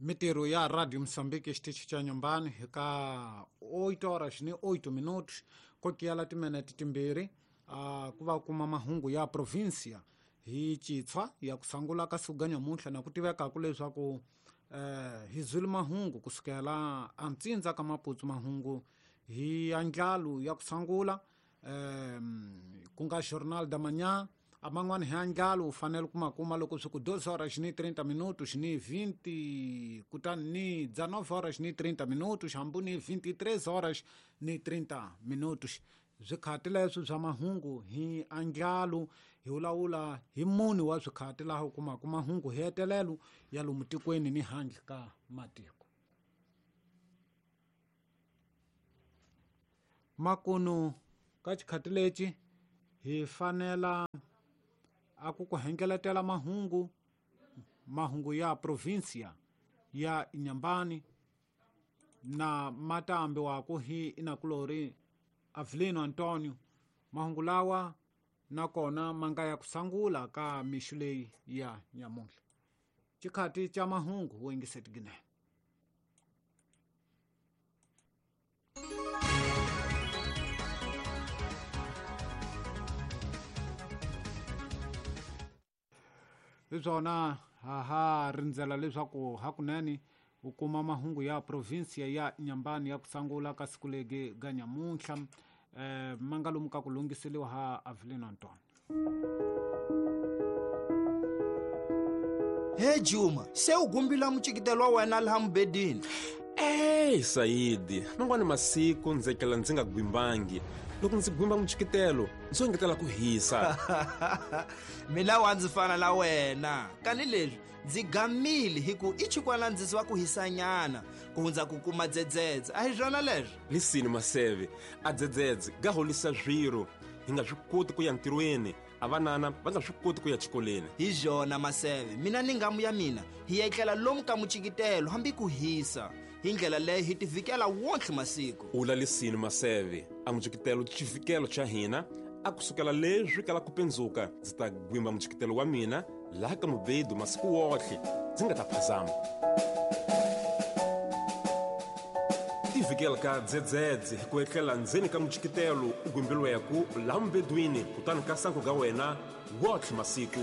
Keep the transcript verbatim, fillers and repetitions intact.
Mitirho ya Radio Moçambique xitichi xa Nyumbani hi ka oito horas ni oito minutos kokiyala timinete timbirhi uh, ku va kuma mahungu ya provincia hi Chitshwa ya ku sungula ka siku ga nyamuntlha na ku tivekaku leswaku eh, hi zwile mahungu kusukela antsindza ka Maputo mahungu hi andlalo ya ku sungula eh, ku nga Jornal da Manhã a man'wana hi andlalo u fanele ku ma kuma loko swi ku doze horas ni trinta minutos ni vinte kutani ni dezenove horas ni trinta minutos hambi ni vinte e três horas ni trinta minutos. Swikhati leswi swa mahungu hi andlalo hi vulavula hi mune wa swikhati laha u kumaka mahungu hi hetelelo ya lomu tikweni ni handle ka matiko. Makunu ka xikhati lexi hi fanela a ku ku hengeletela mahungu mahungu ya provincia ya Inhambane na matambi waku hi inakulori Avelino Antonio. Mahungu lawa nakona manga ya kusangula ka mixu leyi ya nyamuntlha. Xikhati xa mahungu wo yingiseti ginene. Hi swona ha ha rindzela leswaku hakunene u kuma mahungu ya provincia ya Inhambane ya ku sungula ka siku legi ga nyamuntlha eh, ma nga lomu ka ku lunghiseliwa ha Avelino Antonio. He Juma, se u gumbila mucikitelo wa wena laha mubedini? Ey Saidi, man'wana masiku ndzi etlela ndzi nga gwimbangi. Loko ndzi gwimba mucikitelo ndzi engetela ku hisa. Mina wa ndzi fana na wena kani leswi ndzi gamile hi ku i chikwana ndzi wa ku hisanyana ku hundza ku kuma dzedzedze. A hi swona leswi? Lisini Maseve, a dzedzedze ga holisa swiro hi nga swi koti ku ya ntirhweni, a vanana va nga swi koti ku ya xikolweni. Hi swona Maseve, mina ni ngamu ya mina hi etlela lomu ka mucikitelo hambi ku hisa. Hi ndlela leyi hi tivikela wonke masiku. Ula lisini Maseve, a mucikitelo xivikelo xa hina a kusukela leswi kala ku pendzuka ndzi ta gwimba mucikitelo wa mina laha ka mubedu masiku wohle ndzi nga ta phazama. Tivikela ka dzedzedze hi ku etlela ndzeni ka mucikitelo u gwimbiliweku laha mubedwini kutani ka sangu ga wena wohle masiku.